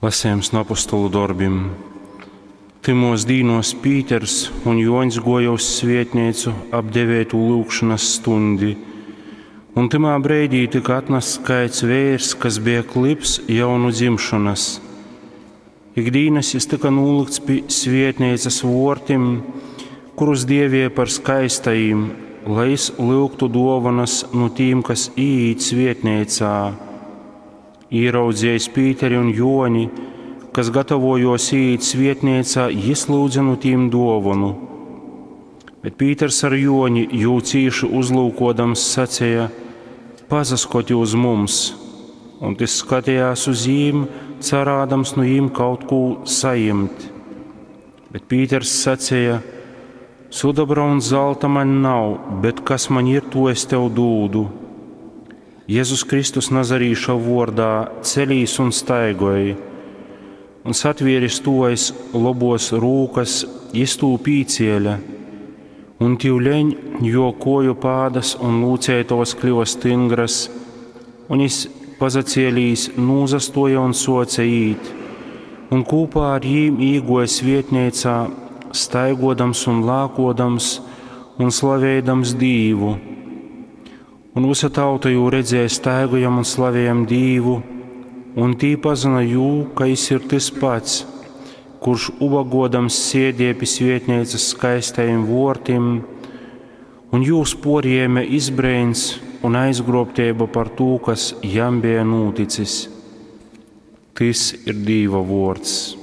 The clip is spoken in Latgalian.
Lasījums no apostolu dorbim. Tymos dīnos Pīters un Juoņs guoja uz svietneicu ap deveitū lyugšonas stundi. Un tymā breidī tyka atnasts kaids veirs, kas beja klybs jau nu dzimšonas. Ikdīnas jis tyka nūlykts pi svietneicas vuortim, kurus dievēja par skaistajim, lai jis lyugtu duovanas nu tīm, kas īīt svietneicā. Īraudziejis Pīteri un Juoni, kas gatavojuos īīt svietneicā, jis lyudze nu tīm duovonu. Bet Pīters ar Juoni jū cīši uzlūkodams saceja: Pasaskoti uz mums! Un tys skatījās uz jīm, carādams nu jīm kaut kū sajimt. Bet Pīters saceja: Sudobra un zelta man nav, bet kas man ir, to es tev dūdu. Jēzus Kristus Nazarīša vuordā celīs un staigoj. Un satvieris tū aiz lobos rūkas, jis tū pīcēla. Un tivleņ juo kuoju pādas un lūceitovas kliva styngras, un jis pazacielīs nūzastuoja un suoce īt, un kūpā ar jīm īguoja svietneicā, staiguodams un lākuodams un slaveidams Dīvu. Un vysa tauta jū redzēja staigojam un slavējam Dīvu, un tī pazyna jū, ka jis ir tys pats, kurš ubagodams sēdēja pi svietneicas skaistajim vuortim, un jūs puorjēme izbreins un aizgrobteiba par tū, kas jam beja nūticis. Tys ir Dīva vuords.